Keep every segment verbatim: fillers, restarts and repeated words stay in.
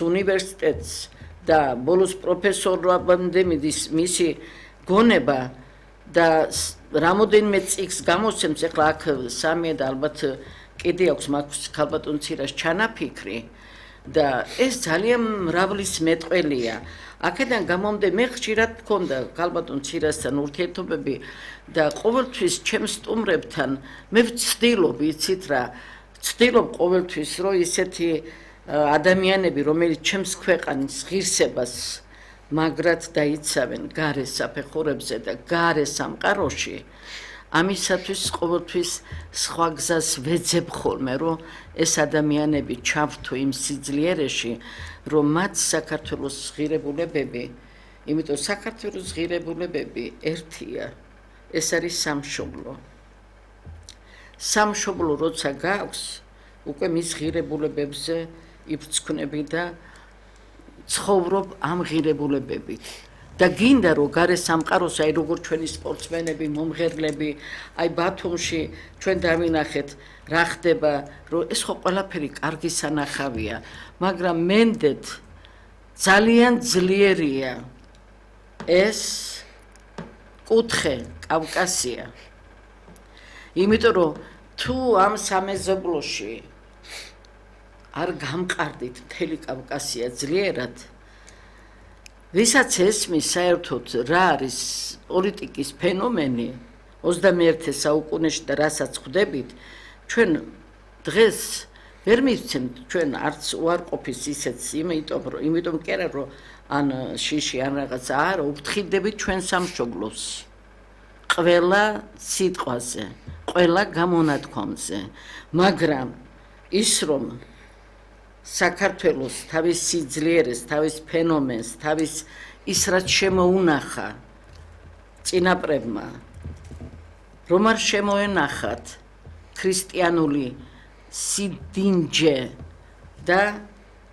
უნივერსიტეტს და ბოლოს პროფესორობამდე მიდის მისი გონება და რამოდენიმე წიგს გამოსცემს, ეხლა აქ სამია და ალბათ კიდე აქვს მაქვს ქალბატონ ცირას ჩანაფიქრი და ეს ძალიან მრავლის მეტყველია. აქედან გამომდე მე ხშირად მქონდა ქალბატონ ცირასთან ურთიერთობები და ყოველთვის ჩემს სტუმრებთან მე ვცდილობ, იცით რა, ვცდილობ ყოველთვის რომ ისეთი ადამიანები, რომელიც ჩემს ქვეყნის ღირსებას მაგრად დაიცავენ გარე საფეხურებზე და გარე სამყაროში, ამისათვის ყოველთვის სხვა გზას ვეძებ ხოლმე, რომ ეს ადამიანები ჩავთო იმ სიძლიერეში, რომ მათ საქართველოს ღირებულებები, იმიტომ საქართველოს ღირებულებები ერთია, ეს არის სამშობლო. სამშობლო როცა გაქვს, უკვე მის ღირებულებებზე იფრცხვნები და ცხოვრობ ამ ღირებულებებით. და გინდა რომ გარე სამყაროს, აი როგორ ჩვენი სპორტსმენები, მომღერლები, აი ბათუმში ჩვენ დავინახეთ რა ხდება, რომ ეს ხო ყველაფერი კარგი სანახავია, მაგრამ მენდეთ ძალიან ძლიერია ეს კუთხე კავკასია. იმიტომ რომ თუ ამ სამეზობლოში არ გამყარდით მთელი კავკასია ძლიერად, ვისაც ესმის საერთოდ რა არის პოლიტიკის ფენომენი ოცდამეერთე საუკუნეში და რასაც ხვდებით, ჩვენ დღეს ვერ მივცემთ ჩვენ არც უარყოფის ისეთს, იმიტომ რომ იმიტომ კი არა რომ ან შიში ან რაღაცა არა, უფრთხილდებით ჩვენ სამშობლოს. ყველა სიტყვაზე, ყველა გამონათქვამზე, მაგრამ ის რომ საქართველოს თავის სიძლიერეს, თავის ფენომენს, თავის ის რაც შემოუნახა წინაპრებმა, რომ არ შემოენახათ ქრისტიანული სიდინჯე და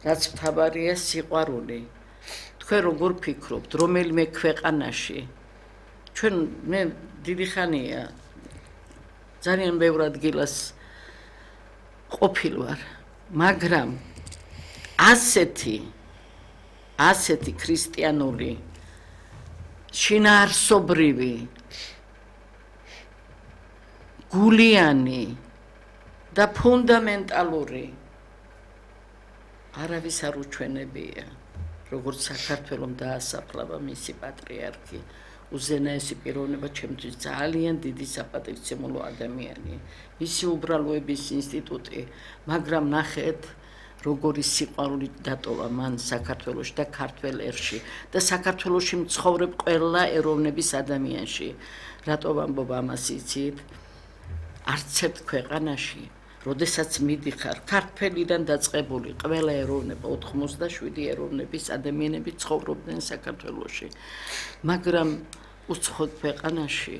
რაც მთავარია სიყვარული. თქვენ როგორ ფიქრობთ, რომელიმე ქვეყანაში ჩვენ მე დიდი ხანია ძალიან ბევრ ადგილას ყოფილ ვარ, მაგრამ ასეთი ასეთი ქრისტიანული შინაარსობრივი გულიანი და ფუნდამენტალური არავის არ უჩვენებია, როგორც საქართველოს დაასაფლავა მისი პატრიარქი, უზენაესი პიროვნება, ჩემთვის ძალიან დიდი საპატივცემულო ადამიანი, მისი უბრალოების ინსტიტუტი, მაგრამ ნახეთ როგორი სიყვარული დატოვა მან საქართველოში და ქართველ ერში და საქართველოში მცხოვრებ ყველა ეროვნების ადამიანში. რატო ვამბობ ამას იცით? არც ერთ ქვეყანაში, როდესაც მიდიხარ, ქართველიდან დაწყებული ყველა ეროვნება, ოთხმოცდაშვიდი ეროვნების ადამიანები ცხოვრობდნენ საქართველოში. მაგრამ უცხოეთ ქვეყანაში,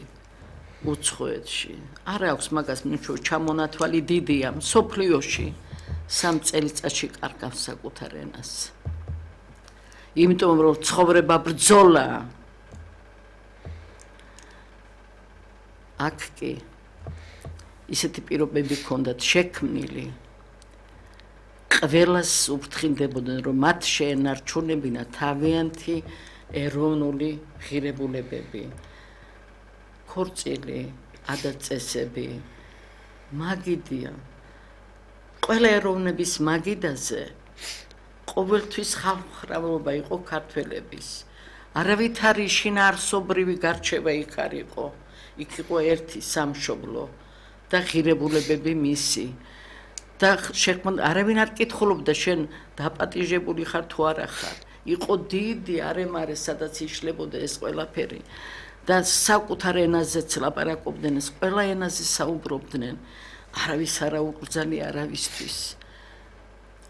უცხოეთში, არ აქვს მაგას ნიშნავს ჩამონათვალი დიდია, მსოფლიოში სამ წელიწადში კარგავს საკუთარ ენას. იმიტომ რომ ცხოვრება ბრძოლაა. აქ კი ისეთი პირობები ჰქონდათ შექმნილი, ყველას უფრთხილდებოდნენ, რომ მათ შეენარჩუნებინა თავიანთი ეროვნული ღირებულებები, ქორწილი, ადათ-წესები, მაგიდია. ყველა ეროვნების მაგიდაზე ყოველთვის ხალხმრავლობა იყო ქართველების. არავითარი შინაარსობრივი გარჩევა იქ არ იყო. იქ იყო ერთი სამშობლო და ღირებულებები მისი. და შექმნა არავინ არ კითხულობდა შენ დაპატიჟებული ხარ თუ არა ხარ. იყო დიდი არემარე, სადაც იშლებოდა ეს ყველაფერი და საკუთარ ენაზეც ლაპარაკობდნენ, ეს ყველა ენაზე საუბრობდნენ. არავის არა უკრძალია არავისთვის,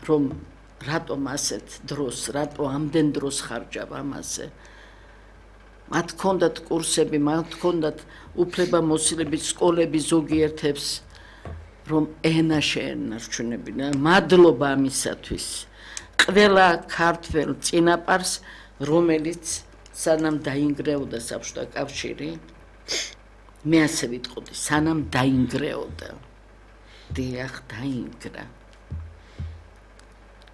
რომ რატომ ასეთ დროს, რატო ამდენ დროს ხარჯავ ამაზე. მათ ჰქონდათ კურსები, მათ ჰქონდათ უფლებამოსილების სკოლები ზოგიერთებს, რომ ენა შეენარჩუნებინა. მადლობა ამისათვის. ყველა ქართველ წინაპარს, რომელიც სანამ დაინგრეოდა საბჭოთა კავშირი, მე ასე ვიტყოდი, სანამ დაინგრეოდა. დიახ, დაინგრა.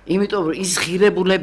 იმიტომ რომ ის ღირებულება